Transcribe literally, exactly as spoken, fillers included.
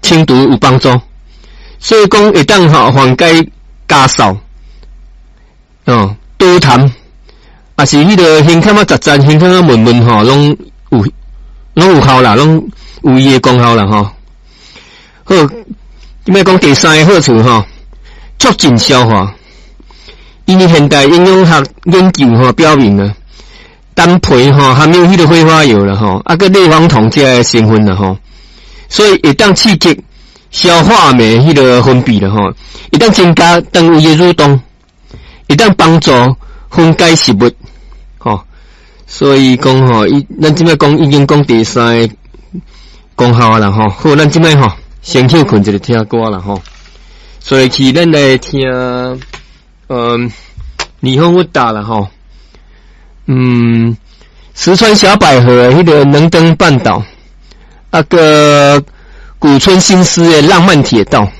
清除有幫助，所以講會當吼緩解咳嗽，哦，多痰，抑是彼个胸腔仔窒窒，胸腔仔悶悶吼，攏有攏有效啦，攏有伊的功效啦吼。好，這擺講第三个好處吼，促進消化。因為現代營養學研究吼表明啊，丹皮吼含有彼个揮發油啦吼，啊閣類黃酮這个成分啦吼，所以會當刺激消化酶彼个分泌啦吼，會當增加腸胃的蠕動，會當幫助分解食物，吼。所以講吼，伊咱這擺講已經講第三个功效啦吼。好，咱這擺吼先歇睏一下聽歌啦吼。所以去咱來聽，嗯，霓虹烏達啦吼，嗯，石川小百合的彼个能登半島，啊閣谷村新司的浪漫鐵道。